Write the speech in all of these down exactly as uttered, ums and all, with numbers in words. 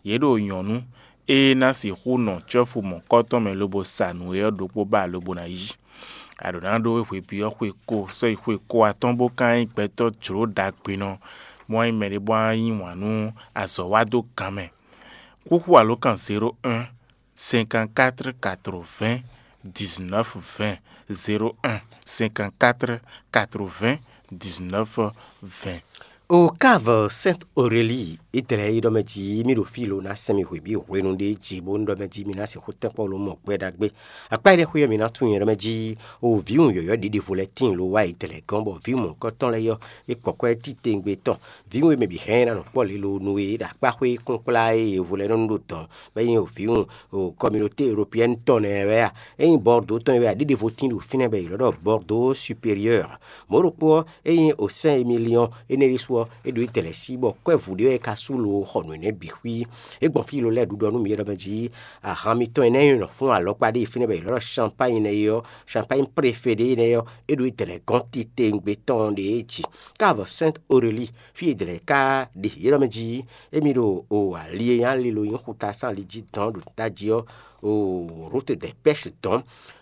Yě ɖo nyɔ̌nu e ná sixú nɔ cɔ́fu mɔ̌kɔtɔn mɛ lobo sa nǔ é ɔ́ ɖokpó ba lobo ná yí. A ɖǒ ná ɖó hweví ɔ́ xwe ko sɔ́yi xwe ko atɔ́ɔ́n bó ka nyí gbɛtɔ́ jlǒ ɖagbenɔ, bó wá nyí mɛɖé bó wá yí wǎn nú azɔ̌ wa dó gan mɛ. Xúxú alǒkan zéro un cinquante-quatre quatre-vingts dix-neuf vingt, zéro un cinquante-quatre quatre-vingts dix-neuf vingt. O Cave Sainte Aurélie, Idlɛ́ e ɖɔ mɛ jí mì ɖo fí lo ná sɛn mi hwebǐ hwenu ɖé jí bó ɖɔ mɛ jí mi ná sixú tɛ́nkpɔ́n lo mɔ gbɛ ɖagbe. Akpá énɛ́ xwé ɔ́, mi ná tunwun nyɛ ɖɔ mɛ jí o vǐwun yɔ̌yɔ́ ɖěɖevo lɛ́ɛ tíin lo wá Idlɛ́ gɔ́n, bɔ vǐwun mɔ̌hunkɔtɔn lɛ́ɛ ɔ́, é kpɔ̌ kwɛ́ titewungbe tɔn. Vǐwun e mɛ bǐ hɛn ná nɔ kpɔ́ lě lo nú é ɖo akpá xwé kúnkplá e è vo lɛ́ nɔ nu ɖo dɔ̌n, bɔ é nyí vǐwun communauté européenne tɔn nɛ́ wɛ a? É nyí Bordeaux tɔn e wɛ a? Ɖěɖevo tíin ɖo fínɛ́ bɔ è ylɔ́ ɖɔ Bordeaux supérieur. Mɔ̌ ɖokpó ɔ́, é nyí o Saint Émilion énɛ́ ɖésú ɔ́, é ɖo Itɛlɛ́ sí bɔ kwɛ́vǔ ɖé wɛ é ka sú lo xɔ nǔ énɛ́ bǐ xwí. É gbɔn fí lo lɛ́ɛ ɖuɖɔ nú mǐ ɖɔ mɛ jí ahan mitɔn énɛ́ e nɔ fún alɔkpa ɖé fínɛ́ bɔ è ylɔ́ ɖɔ Champagne nɛ́ é ɔ́, Champagne préféré énɛ́ ɔ́, é ɖo Itɛlɛ́ gɔ́n titewungbe tɔn ɖě jí. Cave Sainte Aurélie, fí e Idlɛ́ ka ɖe yě ɖɔ mɛ jí émí ɖo o ali e nyí ali lo nyí xuta sín ali jí dɔn ɖo tají ɔ́, o Route des Pêches dɔn,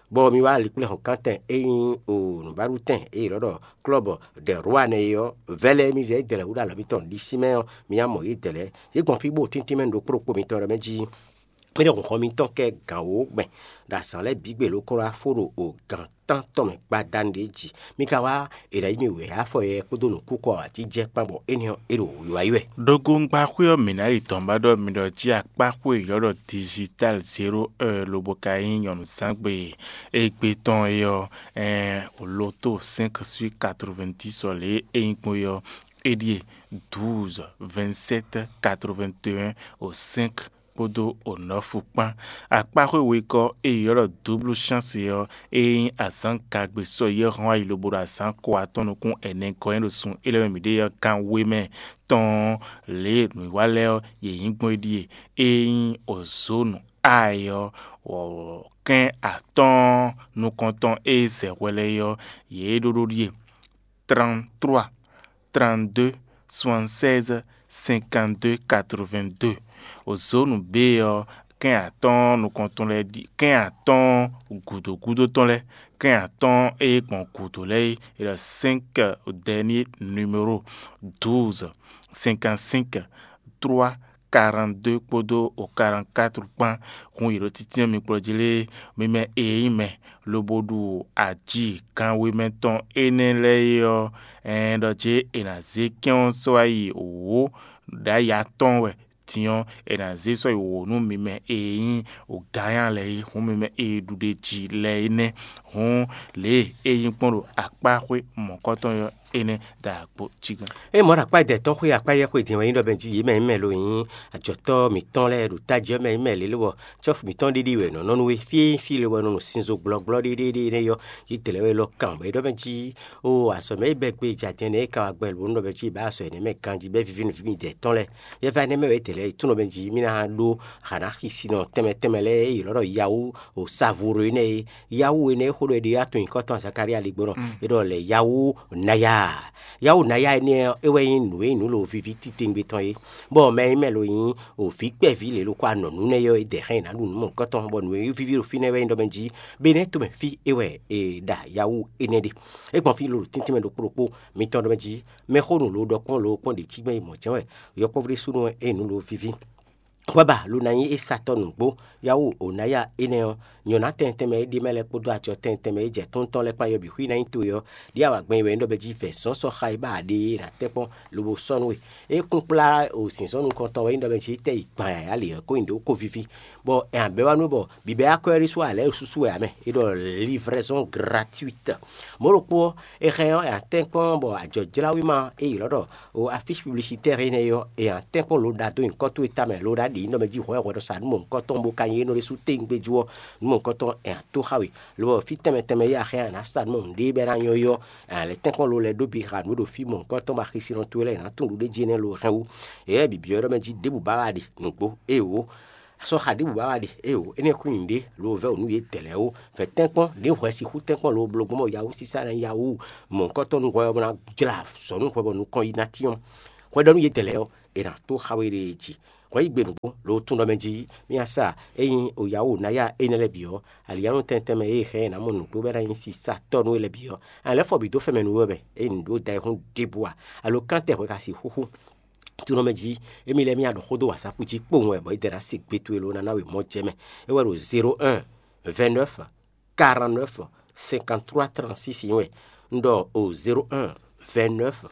bɔ mi wá ali kplé hɔnkántɛn e nyí o nǔbáɖutɛn e è nɔ ɖɔ Club des Rois nɛ́ é ɔ́, vɛlɛ mi zɛ Idlɛ́ wú ɖo alɔ mitɔn ɖisí mɛ ɔ́, mi ná mɔ Idlɛ́. Yě gbɔn fí bó tíntín mɛ ɖo kplɔ́kpó mitɔn ɖɔ mɛ jí mì ɖo hɔn mitɔn kɛ gǎn wǒ gbɛn ɖo azǎn lɛ́ɛ bǐ gbe ló kó wá fó ɖo o gǎn tántɔn mɛ gbadanu ɖě jí. Mi ka wá è nǎ yí mì wěwé afɔ yɛ kpódó nǔkúkɔ awǎjijɛ kpán bɔ énɛ́ ɔ́, é ɖo wǐwá yi wɛ. Ɖogbongba xwé ɔ́, mǐ ná yi dɔ̌n ba ɖɔ mi ɖɔ jí akpá xwé e è ylɔ́ ɖɔ digital zéro heure lobo ka nyí nyɔ̌nuzángbe égbé tɔn é ɔ́, ɛɛn, loto cinq sur quatre-vingt-dix ɔ́ lě e é nyí gbɔn é ɔ́, é ɖíe douze vingt-sept quatre-vingt-un au cinq kpódó onɔ́fu kpán. Akpáxwé wegɔ́ e è ylɔ́ ɖɔ dublu chance ɔ́, é nyí azǎn gagbe sɔ́yi e hɔn ayi lobo ɖo azǎn ko atɔ́ɔ́n nukún ɛnɛ gɔ́ nyi ɖo sun élɔ́ mɛ mǐɖée ɔ́ gán we mɛ tɔn lě e nǔwiwa lɛ́ɛ ɔ́, yě nyí gbɔn é ɖíe: é nyí ozónu ayi ɔ́, kɛ́n atɔ́ɔ́n nukɔntɔn e zɛ hwɛ lɛ́ɛ é ɔ́, yě ɖó ɖó ɖíe: trente-trois, trente-deux, soixante-seize, cinquante-deux, quatre-vingt-deux. Ozónu B ɔ́, kɛ́n atɔ́ɔ́n nukɔntɔn lɛ́ɛ ɖi kɛ́n atɔ́ɔ́n gǔdo gúdo tɔn lɛ́ɛ, kɛ́n atɔ́ɔ́n e gbɔn gǔdo lɛ́ɛ é, è ɖɔ cinq dernier numéro: douze, cinquante-cinq, trois, quarante-deux kpódó o quarante-quatre kpán. Hun yě ɖo títínɔ́ mi kplɔ́ jí lé, mi mɛ e nyí mɛ lobo ɖu aji kanwemɛ tɔn énɛ́ lɛ́ɛ é ɔ́, ɛɛn ɖɔ jě è nǎ zé kɛ́n ɔ́ sɔ́ wá yi wǒ ɖ'ayǐ atɔ́ɔ́n wɛ din ɔ́, è nǎ zé sɔ́ yi wǒ nú mi mɛ e nyí wǔgánya lɛ́ɛ é, hǔn mi mɛ e ɖu ɖ'é jí lɛ́ɛ é nɛ́. Hǔn lě e é nyí gbɔn ɖo akpá xwé mɔ̌kɔtɔn ɔ́ énɛ́ da agbo jí gán. É mɔ̌ ɖo akpá dɛ tɔn xwé akpá yɛ xwé din wɛ nyí ɖɔ mɛ jí yě mɛ nyí mɛ lo nyí ajɔ̌tɔ́ mǐtɔn lɛ́ɛ ɖo tají ɔ́ mɛ nyí mɛ lě lobɔ cɔ́fu mǐtɔn ɖiɖi wɛ nɔ nɔ nú we fí fí le wɛ nɔ nɔ sinzo gbɔlɔgbɔlɔ ɖiɖiɖi énɛ́ yɔ yí dlɛ̌ wɛ lɔ kan bɔ é ɖɔ mɛ jí o azɔ̌ mɛ é bɛ́ gbe jajɛ nɛ́ é ka wá gbɛ lǒ nɔ mɛ jí bǎ azɔ̌ énɛ́ mɛ ganjí bɛ́ víví nǔví mi dɛ tɔn lɛ́ɛ. Yɛ va énɛ́ mɛ wɛ é dlɛ̌ é tún nɔ mɛ jí mí ná ɖó hǎ ná xi sinɔ tɛnmɛ tɛnmɛ lɛ́ɛ é ylɔ́ ɖɔ Yawu o Savuro énɛ́ é. Yawu énɛ́ é xó ɖɔ é ɖe atún nyǐkɔ tɔn Zakalía ɖe gbɔn nɔ é ɖɔ lɛ Yawu Naya. Yawu Naya énɛ́ ɔ́, é wɛ nyí nǔ e nyí nǔ lo víví titewungbe tɔn é. Bɔ mɛ e mɛ lo nyí o vǐ kpɛví lě lo kó anɔ nǔ nɛ́ yɔ é dɛ hɛn ná ɖu nǔ mɔ̌hunkɔtɔn bɔ nǔ e víví ɖo fínɛ́ wɛ nyí ɖɔ mɛ jí be nɛ́ tomɛ fí é wɛ è ɖa Yawu énɛ́ ɖe. É gbɔn fí lo ɖo tíntín mɛ ɖokpó ɖokpó mitɔn ɖɔ mɛ jí mɛxónú lo ɖɔ kpɔ́n lo kpɔ́n ɖě cí gbɛn yi mɔ̌ jɛ́n wɛ yɔkpɔ́vú ɖésúnɔ wɛ é nyí nǔ lo víví. Hwɛ ba lo ná nyí é satɔ́ nǔgbó. Yawu Onaya énɛ́ ɔ́, nyɔ̌ná tɛntɛn mɛ é ɖe mɛ lɛ́ɛ kpódó acɔ tɛntɛn mɛ é jɛ tóntɔ́n lɛ́ɛ kpán yɔbǐ xwí ná nyí towe ɔ́, ɖíe a wa gbɛn yi wɛ é ɖɔ bɛ jí vɛ̌ zɔ́n sɔ́ xa e ba a ɖe é ná tɛ́ kpɔ́n lobo sɔ́ nú we. É kún kplá o zǐnzɔ́n nukɔntɔn wɛ é nyí ɖɔ bɛ jí é tɛ́ yi gban yǎyá lě ɔ́ kó nyi ɖě kó víví, bɔ è nǎ bɛ́ wá nú bɔ bǐbɛ́ akwɛ́ ɖésú ǎ lɛ́ɛ ɖo súsú wɛ ǎ mɛ. É ɖɔ livraison gratuite. Mɔ̌ ɖokpó ɔ́, è hɛn ɔ́, è nǎ tɛ́nkpɔ́n bɔ ajɔ̌jláwéma e ylɔ́ ɖɔ o afísi publicitaire énɛ́ ɔ́, è nǎ tɛ́nkpɔ́n lo ɖa dó nyǐkɔ towe tamɛ lo ɖa ɖě nyí nɔ mɛ jí hwɛ̌hwɛ́ nɔ sa nǔ mɔ̌hunkɔtɔn bó ka nyí é nɔ ɖésú téwúngbéjú ɔ́, nǔ mɔ̌hunkɔtɔn è nǎ tó xá we. Lo ɔ́, fí tɛnmɛ tɛnmɛ e a hɛn a nǎ sa nǔ mɔ̌hun ɖé bɔ é ná nyɔ́ é ɔ́, è nǎ lɛ́ tɛ́nkpɔ́n lo lɛ́ɛ ɖó bǐ xa nǔ e ɖo fí mɔ̌hunkɔtɔn bɔ axisinɔ towe lɛ́ɛ è nǎ tunwun ɖuɖéjí énɛ́ lo hɛn wú. Yě lɛ́ɛ bǐ byɔ́ ɖɔ mɛ jí ɖěbǔ ba wá ɖe nǔgbó, éeǒ. Sɔ́ xa ɖěbǔ ba wá ɖe, éeǒ, énɛ́ xwín nyǐɖé, lo vɛ́ wǒ nú yě dɛ̌ lɛ́ɛ ó. Vɛ̌ tɛ́nkpɔ́n, ɖě hwɛ sixú tɛ́nkpɔ́n lo bló gbɔn bɔ yawúsísá ná yawú mɔ̌hunkɔtɔn nú hwɛ ɔ́ bó ná jlá azɔ̌ nú hwɛ bɔ nukɔn yi ná tyɔ́n. Hwɛɖɔnú yětɛn lɛ́ɛ ɔ́, è nǎ tó xa we ɖe jí. Hwɛ yí gbe nǔgbó lo tún ɖɔ mɛ jí mì sa ényí o yǎ wo ná ya énɛ́ lɛ́ɛ bǐ ɔ́, alǐyánu tɛntɛn mɛ e hɛn ɛ nǎ mɔ nǔgbó bɔ é ná nyí sisatɔ́ nú we lɛ́ɛ bǐ ɔ́, a lɛ́ fɔ bǐ dó fɛmɛ nú we wɛ, ényí nǔ ɖó da ɛ hún ɖěbǔ ǎ, alo kántɛ hwɛ ka sixú xú. Tún ɖɔ mɛ jí émí lɛ́ɛ mì ya ɖɔ xó dó wǎzákú jí kpowun wɛ bɔ é dɛ ná se gbe towe lo ná ná we mɔ jɛ mɛ. É wɛ ɖo zéro un, vingt-neuf, quarante-neuf, cinquante-trois, trente-six nyí wɛ. Un ɖɔ o zéro un, vingt-neuf,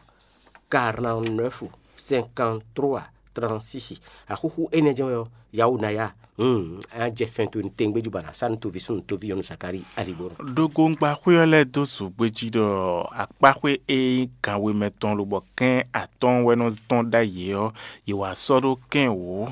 quarante-neuf, cinquante-trois, trente-six. Axúxú énɛ́ jɛ́n wɛ ɔ́, yawó ná ya. Hmm, á jɛ fɛn towe nú tɛngbéjú ba ná sá nú toví súnnu toví nyɔ̌nu Zakalíi aligbónu. Ɖogbóŋgbáxwé ɔ́ lɛ́ɛ dó zǒgbé jí ɖɔ akpáxwé e nyí ganwe mɛ tɔn lobɔ kɛ́n atɔ́ɔ́n wɛ nɔ tɔn ɖ'ayǐ é ɔ́, yě wá sɔ́ ɖó kɛ́n wǒ,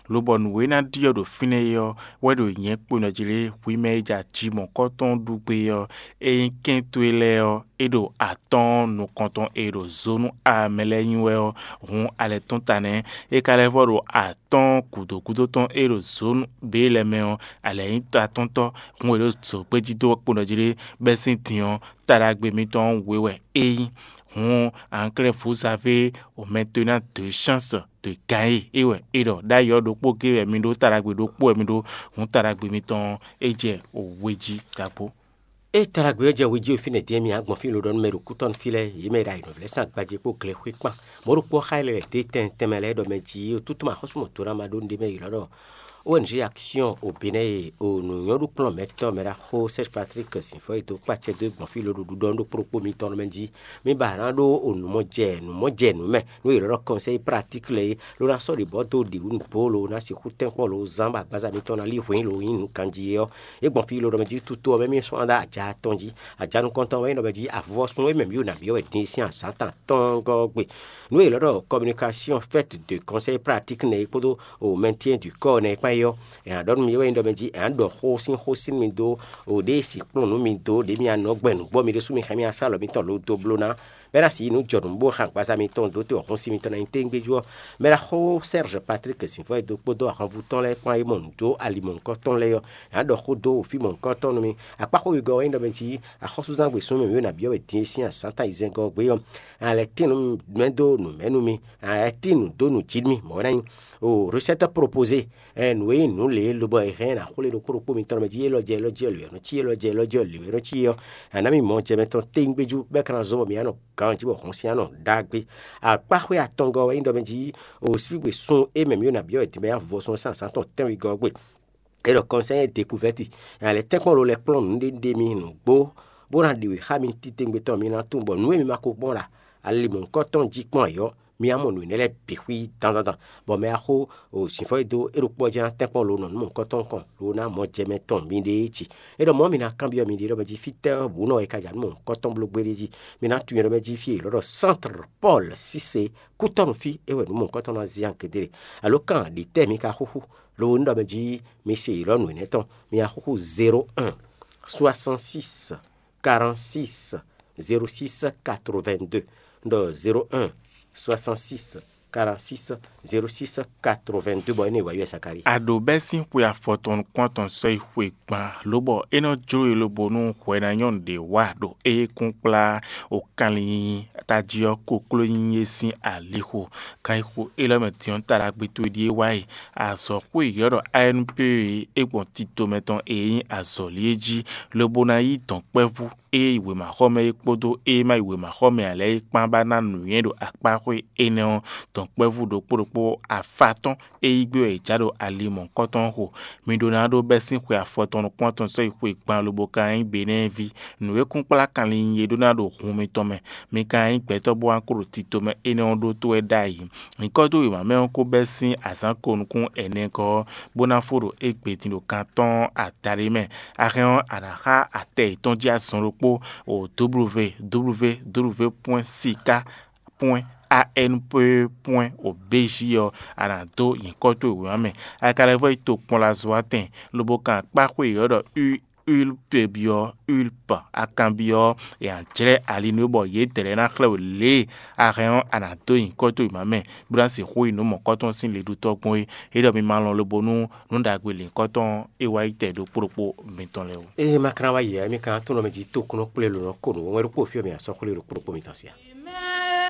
lobɔ nǔ e ná ɖi ɔ́ ɖo fínɛ́ é ɔ́ wɛ ɖo nyɛ̌ kpo nɔ jí lé hwi mɛ e ja ji mɔ̌kɔ́tɔn ɖu gbé ɔ́, é nyí kɛ́n towe lɛ́ɛ ɔ́, é ɖo atɔ́ɔ́n nukɔntɔn e ɖo zǒnu amɛ lɛ́ɛ nyi wɛ ɔ́, hun alɛ tɔn ta nɛ́. É ka lɛ́ vɔ ɖo atɔ́ɔ́n gǔdo gúdo tɔn e ɖo zǒnu bě lɛ́ɛ mɛ ɔ́, alɛ nyí ta tɔn tɔ́, hun e ɖo zǒgbé jí dó kpo nɔ jí lé, bɛ́ sín din ɔ́, taɖagbe mitɔn ɔ́ wě wɛ é nyí. Hǔn, anklɛ́ vǔzavé omɛtɔ́ ná dǒ chance dǒ gǎn e é wɛ é ɖɔ ɖ'ayǐ ɔ́ ɖokpó géé wɛ mi ɖó, taɖagbe ɖokpó wɛ mi ɖó, hǔn taɖagbe mitɔn ɔ́, é jɛ we jí ɖaxó. Ée taɖagbe ɔ́ jɛ we jí fínɛ́ din ɔ́, mi nǎ gbɔn fí lodɔ́nú mɛ ɖo kútɔ́nú fí lɛ́ɛ, yě mɛ e ɖo ayǐnɔ́vlɛ́ sín agbají kpó glɛxwé kpán. Mɔ̌ ɖokpó ɔ́ xá yɛ lɛ́ lɛ̌ dó tɛn tɛnmɛ lɛ́ɛ ɖɔ mɛ jí, ó tútú mɛ axɔ́súmɔtɔ́ ná ma ɖó nǔɖé mɛ yi lɔ̌ ɖɔ O N G Action au Bénin e o nǔnywɛ́ɖú kplɔ́n mɛtɔ́ mɛ ɖaxó Serge Patrick Sinfɔ e dó kpá acɛ dó gbɔn fí lo ɖo ɖuɖɔ ɖokpó ɖokpó mitɔn mɛ jí. Mi ba ná ɖó o nǔmɔjɛ nǔmɔjɛ nǔ mɛ, nú è lɔ́ ɖɔ conseil pratique lɛ́ɛ é, ló ná sɔ́ ɖě bɔ dó ɖě wú nǔgbó lo ná sixú tɛ́nkpɔ́n lo zán bɔ agbaza mitɔn ná lí hwǐn lo nyí nǔ ganjí é ɔ́. É gbɔn fí lo ɖɔ mɛ jí tutu ɔ́ mɛ mì sɔ́ ná ɖó aja atɔn jí. Aja nukɔntɔn wɛ nyí ɖɔ mɛ jí avɔsún e mɛ mǐ ɖo nǎ byɔ́ wɛ din sín azǎn tɔn gɔ́ ɔ́ gbe. Nǔ e è lɔ́ ɖɔ communication faite de conseil pratique nɛ́ é kpódó o maintien du corps nɛ́ é kpán é ɔ́, è nǎ ɖɔ nú mi é wɛ nyí ɖɔ mɛ jí è nǎ ɖɔ xó sín xó sín mi dó o ɖěe sixkplɔ́n nú mi dó ɖě mi anɔ gbɛn nǔgbó mi ɖésú mi xá mi asá lɔ mitɔn lo dó bló ná. Mɛ ná si nǔ jɔ nǔ bó xan agbaza mitɔn dó te wɔ̌xɔ́n sí mitɔn ná nyí téŋgbéjú ɔ́, mɛ ná xó Serge Patrick Sinfɔ e dó kpódó ahwanvú tɔn lɛ́ɛ kpán é mɔ nǔ dó ali mɔ̌hunkɔtɔn lɛ́ɛ ɔ́, è nǎ ɖɔ xó dó fí mɔ̌hunkɔtɔn nú mi. Akpáxó wegɔ́ ɔ́ nyí ɖɔ mɛ jí axɔ́súzán gbesún mɛ mǐ ɖo nǎ byɔ́ wɛ din e sín azǎn ta ayizɛ́ngɔ́ ɔ́ gbé ɔ́, a lɛ́ tín nú mɛ dó nǔ mɛ nú mi, a lɛ́ tín nǔ dó nǔ jí nú mì, mɔ̌ ná nyí o recette proposée. Nǔ e nyí nǔ lě lobɔ è hɛn ná xwlé ɖokpó ɖokpó mitɔn mɛ jí élɔ́ jɛ élɔ́ jí ɔ́ lě ɔ́ nɔ cí, élɔ́ jɛ élɔ́ jí ɔ́ lě ɔ́ nɔ cí ɔ́, a nǎ mi mɔ jɛ mɛ tɔn téŋgbéjú bɔ é ka ná zɔ́n bɔ mi ná nɔ ganjí bɔ hɔn sín ná nɔ ɖagbe. Akpáxwé atɔngɔ́ wɛ nyí ɖɔ mɛ jí o sígbè sun e mɛ mǐ ɖo nǎ byɔ́ wɛ din bɔ é ná vɔ sun sín azǎn tɔn tɛ́nwegɔ́ ɔ́ gbe. É ɖɔ conseil découverte, alɛ tɛ́nkpɔ́n lo lɛ́ kplɔ́n nǔɖéɖé mi nǔgbó, bó ná ɖi wě xá mi titewungbe tɔn mi ná tunwun bɔ nǔ e mi ma ko gbɔn ɖo ali mɔ̌hunkɔtɔn jí kpɔ́n ǎ ɔ́, mi á mɔ nǔ énɛ́ lɛ́ɛ bǐ xwí dandandan, bɔ mɛ axó o sǐnfɔ́ e dó é ɖokpó ɔ́ jɛ́n ná tɛ́nkpɔ́n lo nɔ nú mɔ̌hunkɔtɔn kɔn lo ná mɔ jɛ mɛ tɔn miɖée cí. É ɖɔ mɔ̌ mi ná kanbyɔ́ miɖée ɖɔ mɛ jí fítɛ́ ɔ́ bǔ nɔ wɛ ka ja nú mɔ̌hunkɔtɔn bló gbéɖé jí. Mi ná tunwun ɖɔ mɛ jí fí e è lɔ́ ɖɔ Centre Paul Cissé kútɔ́nú fí é wɛ nǔ mɔ̌hunkɔtɔn ná zé ankɛdére. Alo kan ɖi tɛ́ mi ka xúxú, lo ní ɖɔ mɛ jí mi se yi lɔ́ nǔ énɛ́ tɔn, mi axúxú zéro un, soixante-six, quarante-six, zéro six, quatre-vingt-deux. Un ɖɔ zéro un, soixante-six, quarante-six, zéro six, quatre-vingt-deux, bɔ énɛ́ wǎ yɔ Zakalíi. A ɖǒ bɛ́ sín xwe afɔtɔn nukún atɔn sɔ́ yi xwe gban, lobɔ é nɔ jló we lobo nú hwɛ ná nyɔ́nu ɖě wá ɖo éyɛ́kúnkplá o kanlin tají ɔ́ kokló nyí é sín alixo. Kan e xo élɔ́ mɛ din ɔ́ ta ɖagbe towe ɖíe wá yi. Azɔ̌xwé yɔ̌ ɖɔ A N P e é gbɔn tito mɛ tɔn e nyí azɔ̌li é jí, lobo ná yí dɔ̌nkpɛvú e yi wěmaxɔmɛ é kpódó e ma yi wěmaxɔmɛ ǎ lɛ́ɛ é kpán ba ná nǔnywɛ́ ɖo akpáxwé énɛ́ ɔ́, dɔ̌nkpɛvú ɖokpó ɖokpó afá tɔn e yí gbé wɛ è já ɖo ali mɔ̌hunkɔtɔn xo. Mi ɖó ná ɖó bɛ́ sín xwe afɔtɔn nukún atɔn sɔ́ yi xwe gban lobo ka nyí Benɛ́ɛví. Nǔ e kún kplá kanlin nyi é ɖó ná ɖo hun mitɔn mɛ. Mi ka nyí gbɛtɔ́ bó wá kó ɖo tito mɛ énɛ́ ɔ́ ɖótó wɛ ɖ'ayǐ. Nyǐkɔ dó wěma mɛ ɔ́ kó bɛ́ sín azǎn ko nukún ɛnɛ gɔ́ ɔ́, bó ná fó ɖo égbé din ɖo kan tɔn ɔ́ adaɖé mɛ. A hɛn ɔ́, a nǎ xá atɛ yětɔn jí azɔn ɖokpó o W W W pwɛ́n sika pwɛ́n A N P pwɛ́n o B J ɔ́, a nǎ dó nyǐkɔ towe wěma mɛ. A ka lɛ́ vɔ́ yi tokpɔnlazɔ́watɛn, lobo kan akpáxwé yěyɔ́ ɖɔ Ú Ulpe byɔ́, Ulpe akanbyɔ́, è nǎ jlɛ́ ali nú we bɔ yědɛɛ lɛ́ɛ ná xlɛ́ we lě e a hɛn ɔ́, a nǎ dó nyǐkɔ towe mǎ mɛ, bó ná sixú yi nǔ mɔ̌kɔ́tɔn sín leɖútɔ́ gbɔn é. É ɖɔ mi ma lɔn lobo nú nǔ ɖagbe lǐnkɔ́tɔn e wá yi tɛ ɖokpó ɖokpó mitɔn lɛ́ɛ ó. Ée ma ka ná wá yi ǎ, émí ka ná tunwun mɛ jí tókúnɔ kplé lǒ nɔ ko nǔ wɛn ɖokpó fí ɔ́, mi ná sɔ́ xwlé ɖokpó ɖokpó mitɔn sí a?